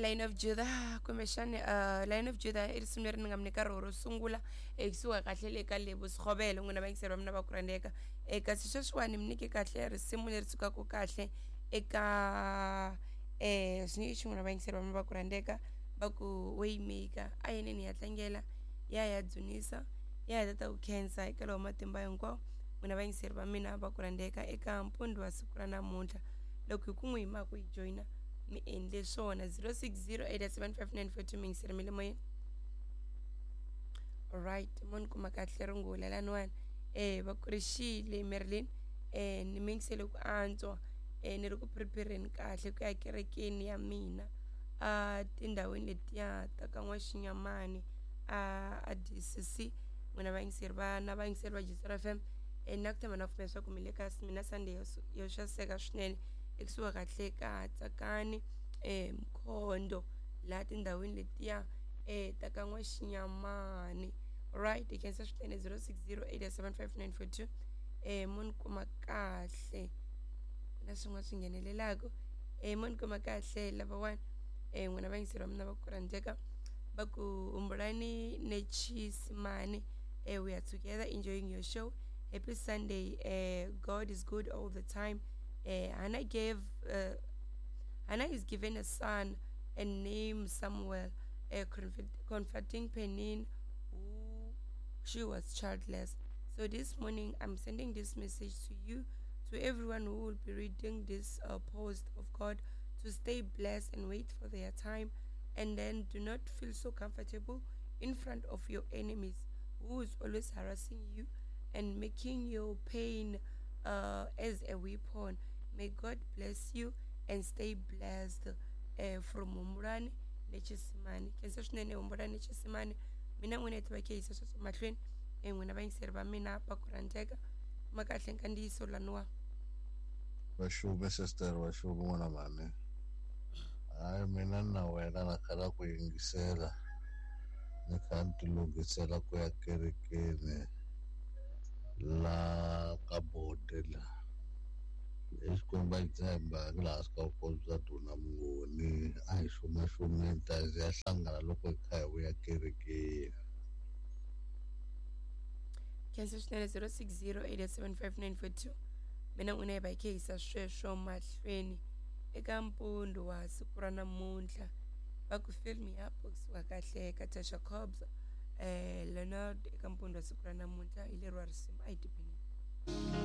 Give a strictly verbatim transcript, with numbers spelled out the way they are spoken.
Line of Judah kumbexani uh, Line of Judah i risimu leri ni nga mi nyika roho ro sungula ekusuka kahle le ka Lebo Sekgobelo, n'wina vayingiseri va mina va ku rhandzeka. um kasi sweswiwani mi nyike kahle risimu leri sukaka kahle eka um swi nge n'wina vayingiseri va mina va ku rhandzeka, va ku Waymaker. A yeneni hi ya tlangela, ya ya dzunisa, ya hi tata ku khensa eka lowa matimba hinkwawo, n'wina vayingiseri va mina va ku rhandzeka eka mpundzu wa siku ra namuntlha. Loko hi ku n'wi hi ku yi joyina, mi endle swona. Zero six zero eight seven five nine four two, mi yingiseri mi le moyeni. Alright, mo ni kuma kahle rungula laniwani. um va kurixile Merlin, um ni mi yingisele ku antswa. um ni ri ku prepare-ni kahle ku ya kerekeni ya mina a tindhawini letiya ta ka N'waxinyamani a a D C C. N'wina vayingiseri va na vayingiseri va G C R F M, um na ku tshemba na pfumela leswaku mi le ka mina Sunday yo yo xaseka swinene ekusuhi kahle ka Tsakani, um Mkhondo, laha tindhawini letiya um ta ka N'waxinyamani. Right, hi khensa swinene. Zero six zero eight seven five nine four two, um mo ni kuma kahle. Ku na swin'wana swi nghenelelaka. um mo ni kuma kahle lavawani. um n'wina vayingiseri va mina va ku rhandzeka, va ku Humbulani Nechisimani, uh, we are together enjoying your show. Happy Sunday. uh, God is good all the time. uh, Hannah gave uh, Hannah is given a son and name Samuel, uh, comforting Penin, who she was childless. So this morning I'm sending this message to you, to everyone who will be reading this uh, post of God, to stay blessed and wait for their time, and then do not feel so comfortable in front of your enemies who is always harassing you and making your pain uh, as a weapon. May God bless you and stay blessed. uh, from Humbulani Nechisimani. Khensa swinene, Humbulani Nechisimani. Mina n'wina hi tiva khe yisa sweswo mahlweni. um n'wina vayingiseri va mina va ku rhandzeka, ma kahle nkandziyiso laniwa. Vaxume sister, vaxume n'wana mhani. Hayi, mina na wena na khala ku yingisela, ni kha ni ti lunghisela ku ya kerekeni la ka bode la eXikwembu a xi tshemba laha swi ka vukosi bya Duna Mungoni. A hi xumaxumeni ta ya hlangana loko hi kha hi vuya kerekeni. Khensa swinene. Zero six zero eight seven five nine four two, mina n'wina hi va hi khe yisa sweswo mahlweni eka mpundzu wa siku ra namuntlha. Va ku Fill Me Up kusuka kahle ka Tasha Cobbs, eh Leonard, eka mpundzu wa siku ra namuntlha hi leriwa risimu. A hi tiphineni.